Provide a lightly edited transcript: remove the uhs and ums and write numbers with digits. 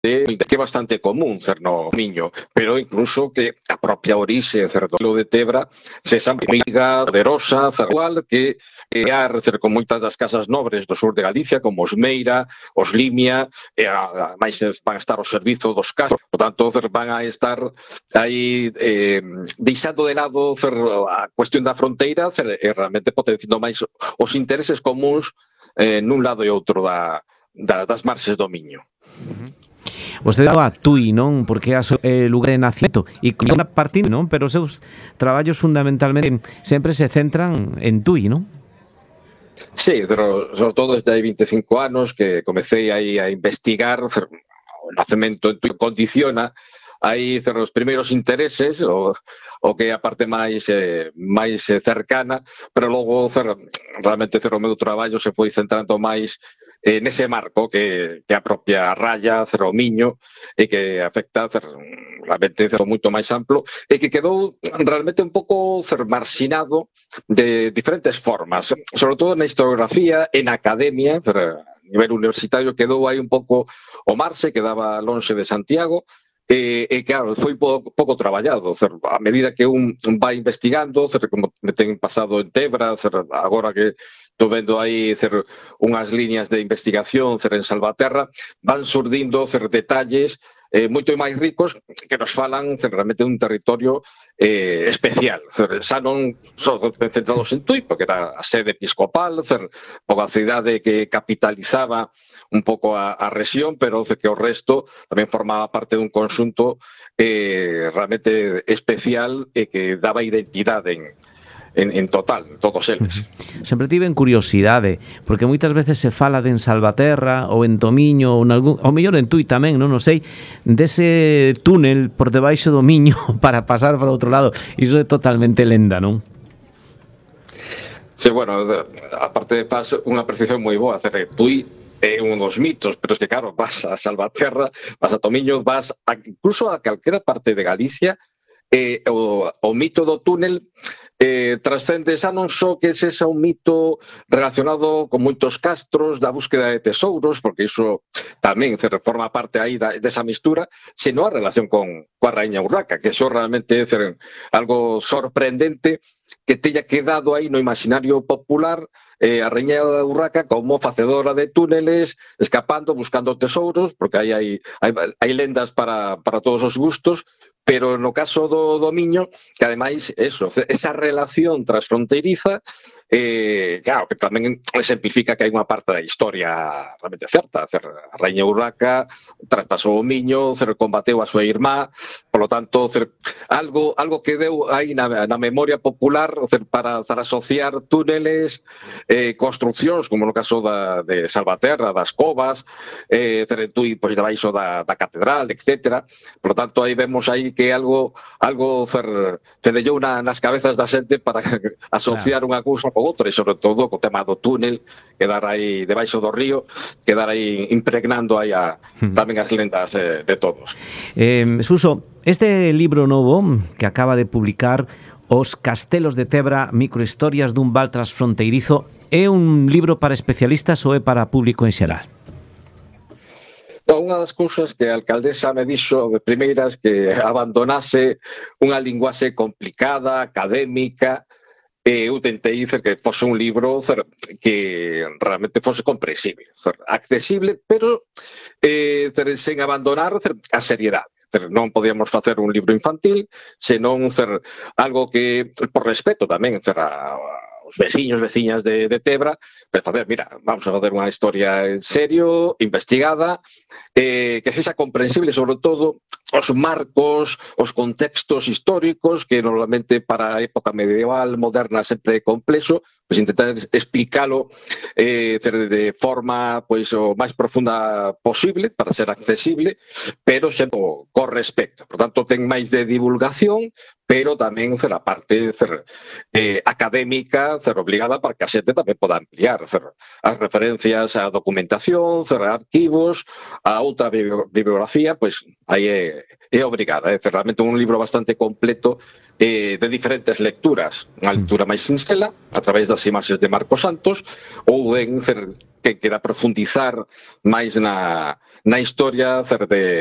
que é bastante común no Miño, pero incluso que a propia orixe do de Tebra se esa amiga poderosa, igual que con moitas das casas nobres do sur de Galicia, como os Meira, os Limia, e máis van a estar ao servizo dos casos, por tanto van a estar aí deixando de lado a cuestión da fronteira e realmente potenciando máis os intereses comuns nun lado e outro das marxes do Miño. Vostede daba a Tui, non? Porque é o lugar de nacimiento e con unha partida, non? Pero os seus traballos fundamentalmente sempre se centran en Tui, non? Sí, pero sobre todo desde hai 25 anos que comecei aí a investigar o nacemento en Tui, condiciona aí os primeiros intereses, o que é a parte máis cercana, pero logo realmente o meu traballo se foi centrando máis nese marco que a propia raya, o Miño, e que afecta realmente moito máis amplo, e que quedou realmente un pouco marxinado de diferentes formas, sobre todo na historiografía e na academia, a nivel universitario quedou aí un pouco o marxe, quedaba lonxe de Santiago, e claro, foi pouco traballado, a medida que un vai investigando, como me ten pasado en Tebra, agora que estou vendo aí unhas liñas de investigación en Salvaterra, van surdindo detalles moito máis ricos que nos falan realmente dun territorio especial, xa non só centrados en Tui, porque era a sede episcopal, a cidade que capitalizaba un pouco a rexión, pero que o resto tamén formaba parte dun conxunto realmente especial e que daba identidade en total, todos eles. Sempre tiven curiosidade, porque moitas veces se fala de en Salvaterra ou en Tomiño ou mellor en Tui tamén, non sei, dese túnel por debaixo do Miño para pasar para outro lado. Iso é totalmente lenda, non? Sí, bueno, aparte faz unha precisión moi boa, Tui é un dos mitos, pero es que claro, vas a Salvaterra, vas a Tomiño, vas incluso a calquera parte de Galicia, o mito do túnel trascende xa non só que ese é un mito relacionado con moitos castros da búsqueda de tesouros, porque iso tamén forma parte aí desa mistura, senón a relación coa Raíña Urraca, que iso realmente é algo sorprendente que teña quedado aí no imaginario popular a Raíña Urraca como facedora de túneles, escapando, buscando tesouros, porque aí hai lendas para todos os gustos, pero no caso do Miño, que ademais esa relación transfronteiriza, claro, que tamén exemplifica que hai unha parte da historia realmente certa. A Raíña Urraca traspasou o Miño, combateu a súa irmá, polo tanto, algo que deu aí na memoria popular para asociar túneles, construccións, como no caso de Salvaterra, das covas, Tui, pois debaixo da catedral, etc. Por tanto, aí vemos aí que algo fedellou nas cabezas da xente para asociar unha cousa con outra, e sobre todo co tema do túnel, quedar aí debaixo do río, quedar aí impregnando aí tamén as lendas de todos. Suso, este libro novo que acaba de publicar, Os Castelos de Tebra, microhistorias dun val transfronteirizo, é un libro para especialistas ou é para público en xeral? Unha das cousas que a alcaldesa me dixo de primeiras que abandonase unha linguaxe complicada, académica, eu tentei dicer que fose un libro que realmente fose comprensible, accesible, pero sen abandonar a seriedade. Non podíamos facer un libro infantil, senón algo que, por respeto tamén, os veciños, veciñas de Tebra, para facer, mira, vamos a facer unha historia en serio, investigada, que sexa comprensible, sobre todo, os marcos, os contextos históricos, que normalmente para a época medieval, moderna, sempre é complexo, pois intentar explicalo de forma o máis profunda posible, para ser accesible, pero sempre con respecto. Por tanto, ten máis de divulgación, pero tamén a parte académica obligada para que a xente tamén poda ampliar as referencias á documentación, a arquivos, a outra bibliografía, pois aí é obrigada. É realmente un libro bastante completo de diferentes lecturas. Unha lectura máis sinxela, a través das imaxes de Marcos Santos, ou en que quera profundizar máis na historia